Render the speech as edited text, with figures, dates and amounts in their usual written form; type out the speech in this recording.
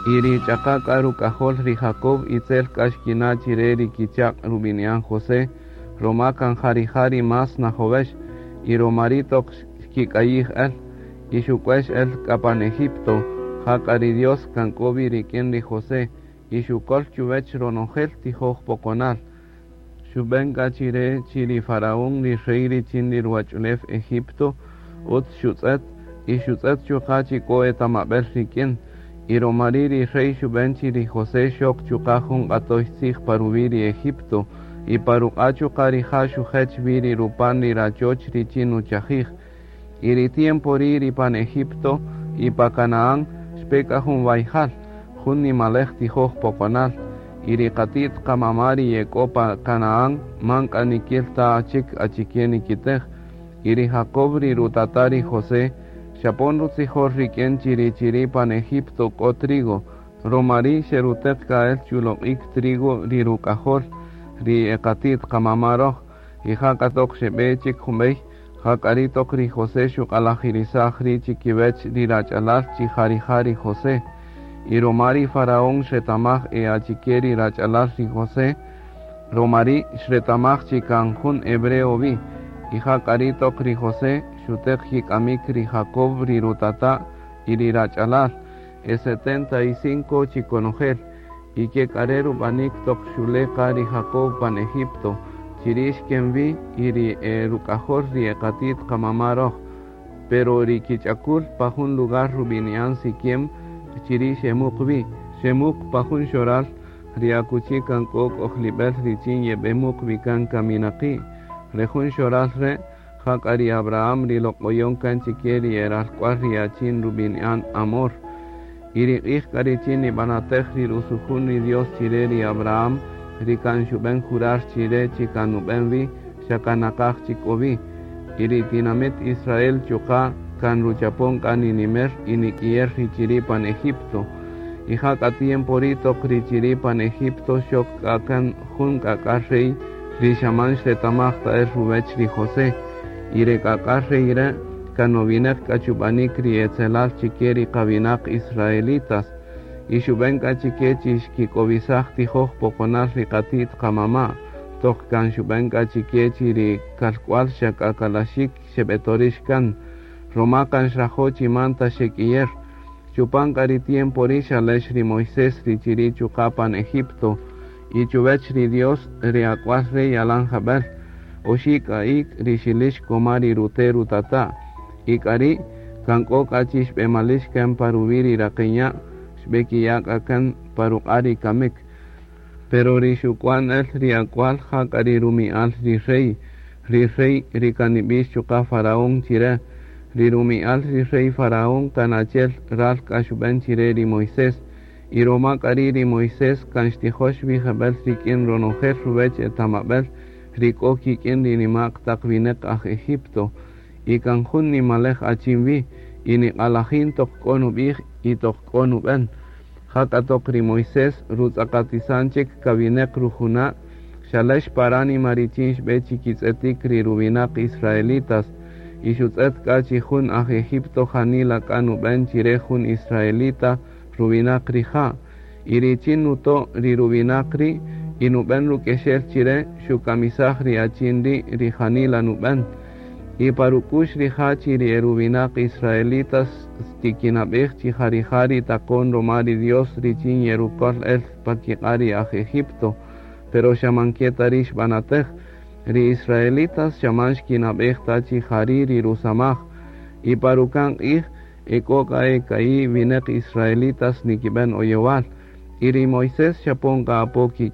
Y ri ch'aqa k'a ruk'ajol ri Jacob itzel k'a xkina' chire ri kichaq' rub'ini'an José, roma kan ja rija' ri más najowex, y roma ri' toq xkik'ayij el, y xuk'uex el k'a pan Egipto, jak'a ri Dios kan k'o wi rik'in ri José, y xukol chuwech ronojel tijoj poqonal. Xub'en k'a chire chi ri faraón ri rey richin ri ruwach'ulew Egipto utz xutz'et, y xutz'et chuqa' chi k'o etamab'el rik'in. Y roma ri' ri rey xub'en chi ri José xok chuqa' jun q'atoy tzij pa ruwi' ri Egipto, y pa ruq'a' chuqa' rija' xujech wi ri rupan ri rachoch richin nuchajij. Y ri tiempo ri' ri pan Egipto y pa Canaán xpe k'a jun wayjal, jun nimalej tijoj poqonal, y ri qati't qamama' ri ye k'o pa Canaán man k'a nikil ta chik achike nikitej. Y ri Jacob ri rutata' ri José xapon rutzijol rik'in chi ri chiri' pan Egipto k'o trigo, roma ri' xeruteq k'a el chuloq'ik trigo ri ruk'ajol ri e qati't qamama' roj, y ja k'a toq xeb'e chik junb'ey, ja k'a ri' toq ri José xuq'alajirisaj ri' chikiwech ri rach'alal chi ja rija' ri José. Y roma ri faraón xretamaj e achike ri rach'alal ri José, roma ri' xretamaj chi kan jun hebreo wi, y ja k'a ri' toq ri José xuteq kik'amik ri Jacob ri rutata' y ri rach'alal, e 75 chi konojel, y ke k'a re' rub'anik toq xule' qa ri Jacob pan Egipto, chiri' xken wi y ri e ruk'ajol ri e qati't qamama' roj, pero ri kich'akul pa jun lugar rub'ini'an Siquem, chiri' xemuq wi, xemuq pa jun xoral ri akuchi kan k'o k'ojlib'el richin yeb'emuq wi kan kaminaqi', re jun xoral re' ja k'a ri Abraham ri loq'oyon kan chike ri e ralk'wal ri achin rub'ini'an Hamor. Y ri q'ij k'a richin nib'anatej ri rusujun ri Dios chire ri Abraham, ri kan xub'en jurar chire chi kan nub'en wi, xa kan naqaj chik k'o wi. Y ri tinamit Israel chuqa' kan ruchapon k'a ninimer y nik'iyer ri chiri' pan Egipto. Y ja k'a tiempo ri' toq ri chiri' pan Egipto xok k'a kan jun k'ak'a rey ri xa man xretamaj ta el ruwech ri José. Y re k'ak'a rey re' kan nowineq k'a chub'anik ri etzelal chike ri qawinaq israelitas. Y xub'en k'a chike chi xkik'owisaj tijoj poqonal ri qati't qamama', toq kan xub'en k'a chike chi ri kalk'wal xa k'a kalaxik xeb'etorix kan, roma kan xrajo' chi man ta xek'iyer. Chupan k'a ri tiempo ri' xalex ri Moisés ri chiri' chuqa' pan Egipto, y chuwech ri Dios ri ak'wal re' yalan jab'el, oxi' k'a ik' ri xilix koma ri rute' rutata', y k'a ri' kan k'o k'a chi xb'emalix kan pa ruwi' ri raqen ya', xb'ekiya' k'a kan pa ruq'a' ri kamik. Pero ri xuk'wan el ri ak'wal ja k'a ri rumi'al ri rey, ri rey ri kan nib'ix chuqa' faraón chire, ri rumi'al ri rey faraón kan achi'el ral k'a xub'en chire ri Moisés, y roma k'a ri' ri Moisés kan xtijox wi jeb'el rik'in ronojel ruwech etamab'el ri k'o kik'in ri nima'q taq winäq aj Egipto, y kan jun nimalej achin wi, y niq'alajin toq k'o nub'ij y toq k'o nub'en. Ja k'a toq ri Moisés rutz'aqatisan chik kawinäq rujuna', xalex pa ránima richin xb'e chikitz'etik ri ruwinaq israelitas, y xutz'et k'a chi jun aj Egipto janila k'a nub'en chire jun israelita ruwinaq rija', y richin nuto' ri ruwinaq ri' y nub'en ruk'exel chire xukamisaj ri achin ri' ri janila nub'en. Y pa ruk'u'x rija' chi ri e ruwinaq israelitas xtikinab'ej chi ja rija' ri taqon roma ri Dios richin yerukol el pa kiq'a' ri aj Egipto, pero xa man ke ta ri' xb'anatej, ri israelitas xa man xkinab'ej ta chi ja ri' ri rusamaj, y pa ruka'n q'ij e k'o k'a e ka'i' winäq israelitas nikib'en oyowal, y ri Moisés xapon k'a apo kik'in.